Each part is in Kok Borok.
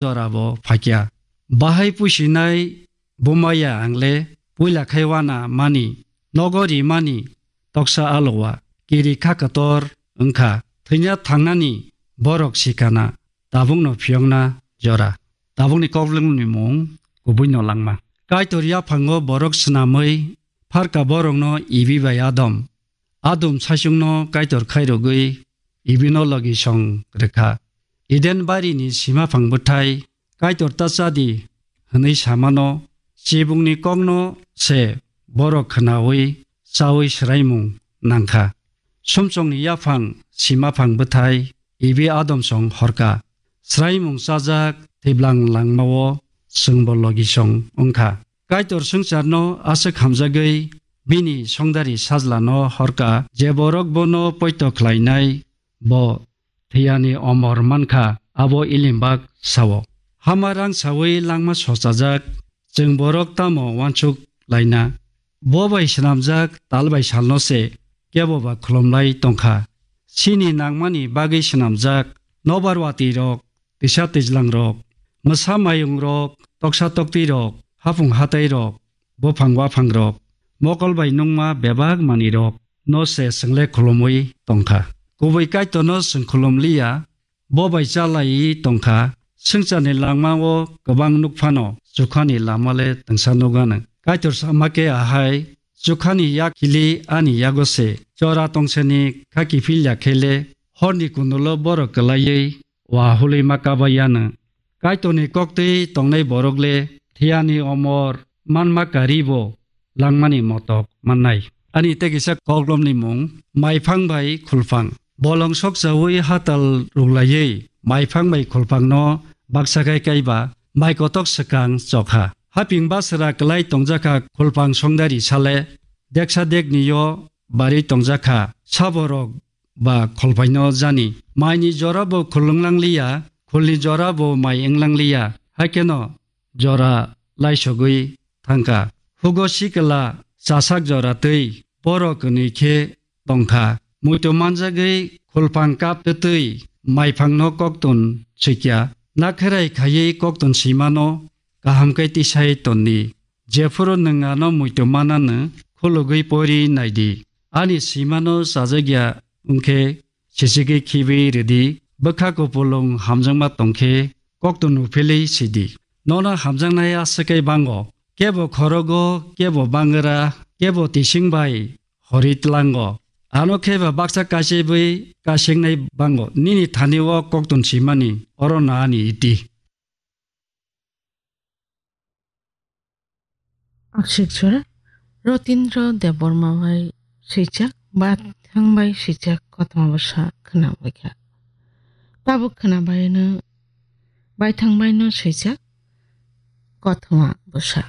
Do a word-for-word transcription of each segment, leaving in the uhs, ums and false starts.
jora bo phaikya. Bahai puisinai bumaya ang le puila khai wana mani, nogo ri mani, toksa alowa, kiri kha kotor wngkha, thwina thangnani borok sikana, tabukno phiyokna jora. Tabukni koklwngni mung kubui no langma. Kaitor yaphango borok swnamwi pharka borokno Ibi bai Adam. Adam saichungno Kaitor khairogwi Ibino logi song rwkha. Eden barini sima phang bwthai Kaitor ta chadi hwnwi samano chibungni kokno se borok khwnawi chawi swraimung nangkha. Sumsokni yaphang sima phang bwthai Ibi Adam song horka. Swraimung chajak thwiblang langmao chwngbo logi song wngkha. Kaitor swngcharno aswk hamjagwi bini songdari sajlano horka, je borok bono poito khlainai, bo thwiyani omor mankha, abo ilimbak sao. Hama rang sawi langma sochajak, chwng borok tamo uansuk laina? Bo bai swnamjak tal bai salno se kebo ba khulumlai tongkha. Chini nangmani bagwi swnamjak nobar watwi rok, tisa twijlang rok, mwsa mayung rok, toksa toktwi rok, hapung hatai rok, buphang waphang rok, mokol bai nungma bebak manwi rok no se chwngle khulumwi tongkha. Kubui Kaitorno chwng khulumliya, bo bai chalai tongkha. Swngcharni langmao kwbang nuk phano, chukhani lama le twngsa nugano. Kaitor sama khe ahai, chukhani yak khili ani yago se, chora tongsani kha kiphil ya khe le, horni kundulo borok kwlaiwi wa hulwi ma kaba yano. Kaitorni koktwi tongnai borok le thiyani omor manma kari bo langmani motok mannai. Ani tei kisa koklomni mung, maiphang bai khulphang. Bolong sokchawi hatal ruglaiwi maiphang bai khulphangno baksa kai kaiba mai kotok swkang chokha. Haping basra kwlai tongjakha khulphang songdari sale, deksa deknio bari tongjakha saborok ba kholphaino jani. Maini jora bo khulwng langliya, khulni jora bo mai wng langliya. Haikeno jora laisogwi thangkha. Hugo sikla chasak jora twi borok kwnwi khe tongkha. Muitu manjagwi khulphang kap twtwi maiphangno koktun swikya. Nakherai khaiwi koktun swimano kaham khe tisai tonni. Jephuru nwng ano muitu manano khulugwi pori naidi. Ani swimano chajakya wngkhe sichigwi khibi rwdi, bwkha kupulung hamjakma tongkhe kokto nuphilwi sidi. Nono hamjaknai aswk khe bango, kebo khorogo, kebo bangra, kebo tising bai hori tlango. Ano khe ba baksa kaisibwi kaisingnai bango, nini thani o kokton simani, oro na ani iti. Aksik jora Rotindra Debbarma bai swijak, Baithang bai swijak kothoma bwsa khwnabaikha. Tabuk khwnabaino Baithang baino swijak kothoma bwsa.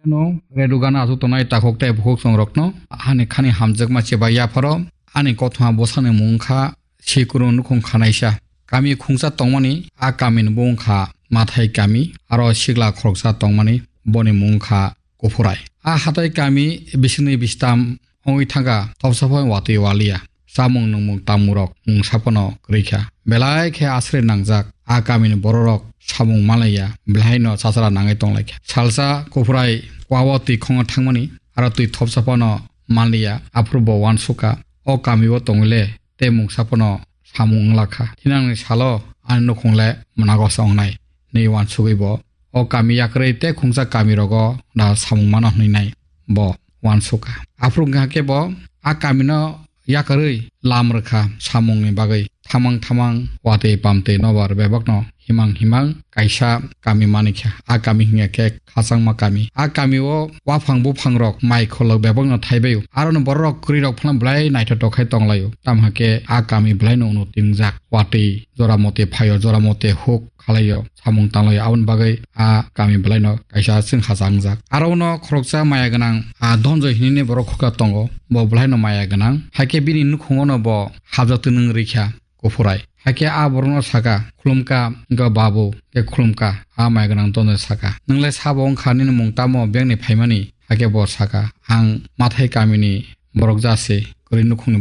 No, redu gana aswk tongnai takhuk tei bukhuk songrokno, hani khani hamjakma cheba yapharo, ani kothoma bwsani mung wngkha Sikuru nukhung khanaisa. Kami khungsa tongmani, a kamini bo wngkha Mathai kami, aro sikla khoroksa tongmani, boni mung wngkha Kuphurai. A hatai kami bisingni bistam wngwi thangkha, thopsa phano watwi waliya. Chamung nungmung tangmungrok mungsa phano kwrwi kha. Belai khe aswrwi nangjak a kamini bororok samung manlaiya, belai no chachara nangwi tonglaikha. Salsa Kuphurai kwao twi khongo thangmani, aro twi thopsa phano manliya, aphuru bo uansukha, o kamio tongwile tei mungsa phano samung wngla kha. Thinangni salo ani nukhung le mwnagosa wngnai, hinwi uansugwi bo o kami yakrwi tei khungsa kamirogo da samung mano hwnwi nai bo uansukha. Aphuru wngkha khe bo a kamino yakarwi lam rwkha samungni bagwi. Thamang thamang watwi pamtwi nobar bebakno himang himang kaisa kami manikha. A kami hwnkha khe khachangma kami. A kamio waphang buphangrok mai kholok bebakno thaibaio. Aroni bororok kwrwirok phano belai naithotok khai tonglaio. Tamo hwnkhe a kami belaino unnoti wngjak. Watwi jora motwi phaio, jora motwi huk khalaio, samung tanglaio, aboni bagwi a kami belaino kaisa chwng hacha wngjak. Aro uno khoroksa maya gwnang, a, Dhonjoi hinwi borok khuka tongo, bo belaino maya gwnang. Haikhe bini nukhungono bo habjak twnwng rikha Kuphurai. Haikhe a borokno saka, "Khulumkha, wngkha babu," khe khulumkha, a maya gwnang Dhonjoi saka, "Nwngla sabo wngkha, nini mung tamo bengni phaimani?" Haikhe bo saka, "Ang Mathai kamini borok jase, Bwrwi nukhungni